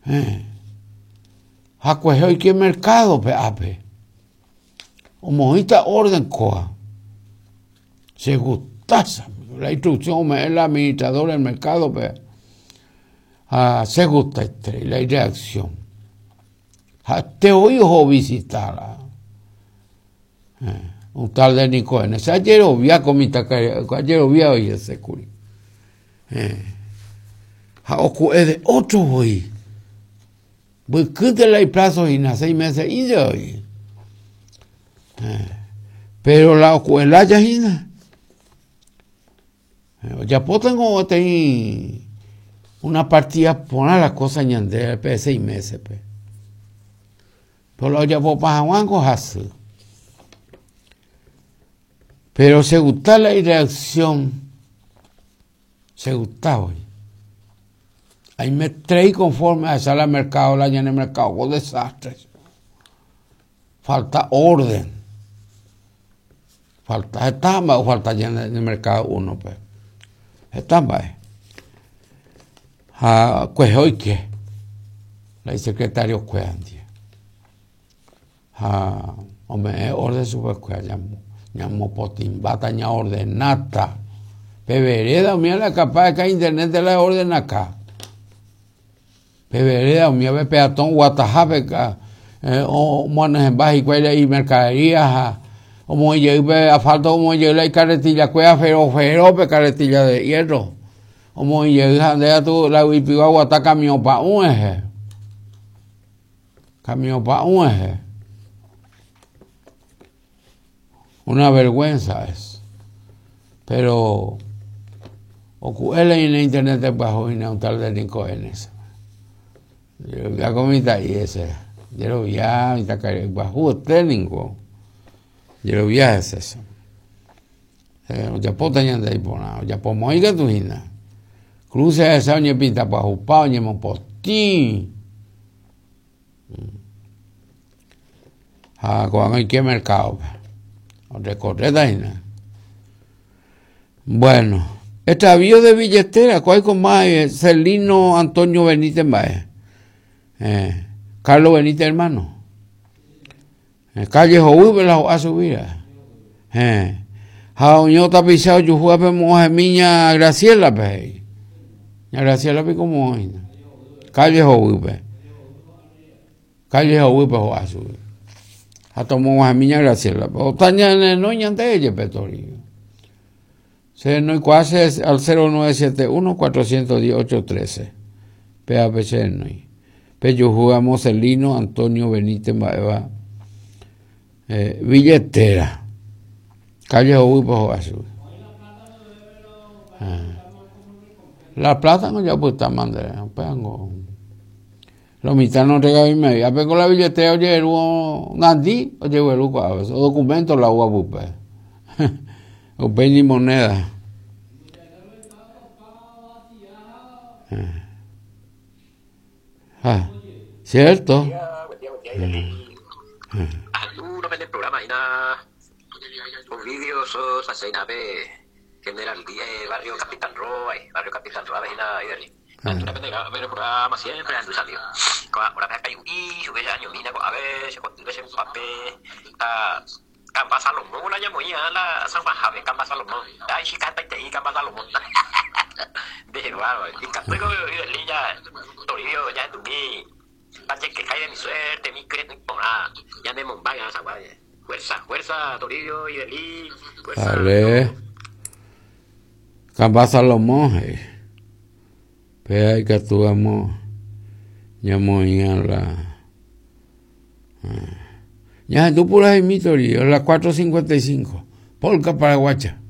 Ha kuehe oike mercado-pe ápe. Omoĩta orden kóa. Che gusta la instrucción ome'ẽ la administrador del mercado-pe. Ha che gustaiterei la ireacción. Ha'ete voi oho ovisita un tal de Nicoene. Che ajerovia ko mitãkaria'y, ajerovia voi hese kuri. Ha oku'e de otro voi. Mbykýnte la iplazo hína, seis meses ínte voi. Pero la oku'e lája hína. Ojapótango peteĩ una partida porã la cosa ñande pe seis meses-pe. Pero la ojapopa hag̃uángo hasy. Pero che gusta la ireacción, che gusta voi. Aimetrei conforme ahecha la mercado, la ñane mercado ko desastre. Falta orden. Falta, heta mba'e ofalta ñane mercado uno-pe. Heta mba'e. Ha kuehe oike la isecretario-kuéra ndive. Ha ome'ẽ orden chupekuéra ñamopotĩmbáta, ñaordenáta. Pe vereda umíva la capaz de internet la ordenaka. Pe vereda umi ave peatón oguatahápe omoanyhẽmba hikuái la imercadería ha omoĩ jey pe asfalto omoĩ jey la icarretilla kuéra fero fero pe carretilla de hierro omoĩ jey ha nde katu la yvypigua oguata kamiõ pa'ũ rehe, kamiõ pa'ũ rehe. Una vergüenza es. Pero oku'e la ñane internet pyahu hína un tal de Nico Enes. Jerovia ko mitã'i ese. Jerovia mitãkaria'y pyahu ete ningo. Jerovia hese che. Eh, ojapóta ñande iporã, ojapo moĩ katu hína. Cruce ahecha oñepinta pyahupa, oñemopotĩ. Ha ko'ág̃a oike mercado-pe, orekorréta hína. Bueno, extravío de billetera, ko aiko ma Celino Antonio Benítez mba'e. Eh, Carlos Benítez hermano. Eh, calle Hovýpe la ho'a chugui ra'e. Eh, ha oño tapicha ojuhúvape mo'ãhemi ña Graciela-pe he'i. Ña Graciela piko moõ hína. Calle Hovýpe. Calle Hovýpe ho'a chugui. Ha tomog̃uahẽmi ña Graciela-pe. Ota ñanenói ñande jepe Toribio. Che renoikuaa che al 0971 410 813. Pévape che renói. Pejuhu amo Celino Antonio Benítez mba'éva eh, billetera. Calle Hovýpe ho'a chugui. Ah. La plata ngo japytáma nde, upévango. Lo mitã no regavimevi. Ápe ko la billetera ojeheru nandi, ojegueru ko'ápe. O documento la uva pype. Upéi ni moneda. Ah, cierto. Kamba Salomón la ñamoĩ la San Juanhápe, Kamba Salomón. Ay, chica, hetaiterei Kamba Salomón. Ndehegua, ikatúiko Idelí ja Toribio jahendumi ndajekehái de mi suerte, mi kyre'ỹ porã, ñanemombáy San Juan. Fuerza, fuerza, Toribio, Idelí, fuerza. Dale. Kamba Salomón he'i. Péa ikatu amo ñamoĩ la Ñahendu puraheimi Toribio, las 4.55, polka paraguaya.